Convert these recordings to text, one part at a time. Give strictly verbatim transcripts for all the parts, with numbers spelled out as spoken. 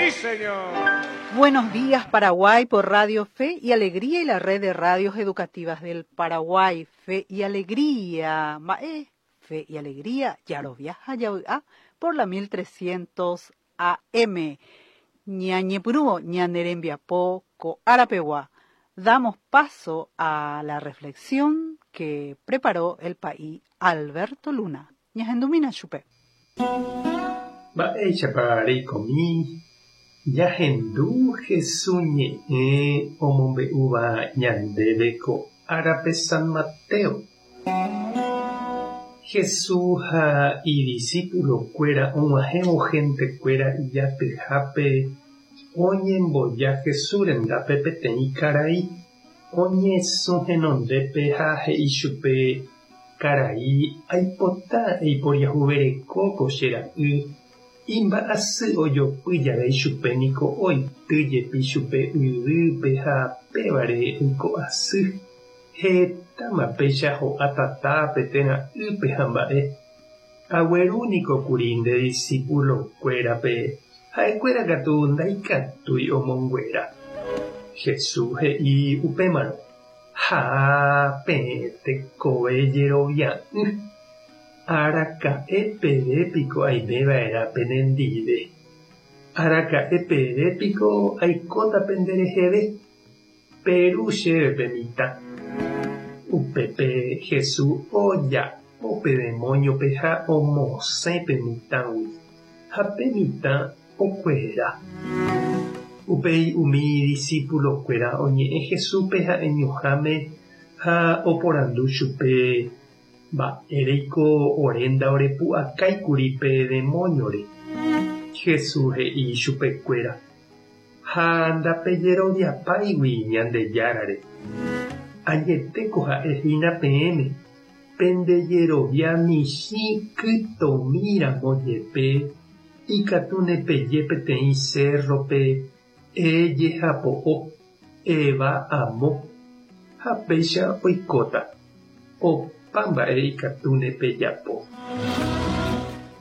¡Sí, señor! Buenos días, Paraguay, por Radio Fe y Alegría y la red de radios educativas del Paraguay. Fe y Alegría. Mae, Fe y Alegría, Yaroviaja, Yaoa, por la mil trescientos A M. Ñañepurúo, ñanerembiapo, ko arapewa. Damos paso a la reflexión que preparó el país Alberto Luna. Ñahendumína chupe. Mba'éichapa reikomi jahendu Jesús ñe'ẽ omombe'úva ñandéve ko árape San Mateo. Jesús ha idiscípulo-kuéra og̃uahẽvo gentekuéra ijatyhápe oñemboja Jesús rendápe peteĩ karai oñesũ henondépe ha he'i chupe: "Karai, aipota eiporiahuvereko ko che ra'y imba'asy ojopy jave ichupe niko oity jepi chupe yvýpe ha pévare oiko asy. Hetáma péicha ho'a tatápe térã ýpe ha mba'e. Agueru niko kuri nde discípulo-kuérape, ha'ekuéra katu ndaikatúi omonguera." Jesús he'i upémarõ: "Ha peẽ tekove jerovia'ỹ, araka'e peve piko aimeva'erã penendive. Araka'e peve piko aikóta pendereheve. Peru chéve pe mitã." Upépe Jesús oja'o pe demonio-pe ha omosẽ pe mitãgui, ha pe mitã okuera. Upéi umi discípulo-kuéra oñe'ẽ Jesúspe ha'eñoháme ha oporandu chupe: "Mba'éreiko ore ndaorepu'akáikuri pe demonio-re?" Jesús he'i chupekuéra: "Ha ndapejeroviapáigui Ñandejárare. Añetéko ha'ehína peẽme, pendejerovia michĩ kytomíramo jepe ikatúne peje peteĩ cerro-pe: 'Ejehapo'o, eva amo', ha péicha oikóta. Opa mba'e ikatúne pejapo."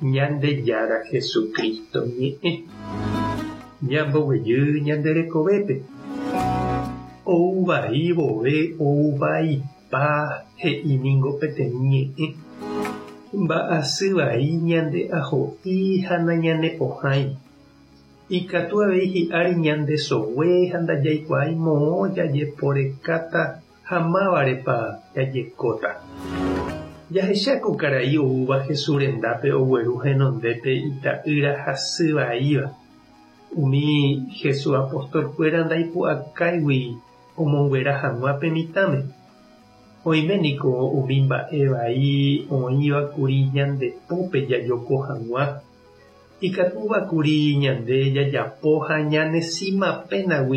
Ñandejára Jesucristo ñe'ẽ. Ñamboguejy ñande rekovépe. Ou vai vove ou vaipa he'i ningo peteĩ ñe'ẽ. Mba'asy vai ñande aho'i ha nañanepohãi. Ikatu avei hi'ári ñande sogue ha ndajaikuaái moõ jajeporekáta ha mávarepa jajekóta. Jahecháko karai oúva Jesús rendápe ogueru henondépe ita'ýra hasyvaíva. Umi Jesús apostolkuéra ndaipu'akáigui omonguera hag̃ua pe mitãme. Oime niko umi mba'e vai oĩvakuri ñande pópe jajoko hag̃ua. Ikatúvakuri ñande jajapo ha ñanesíma pénagui.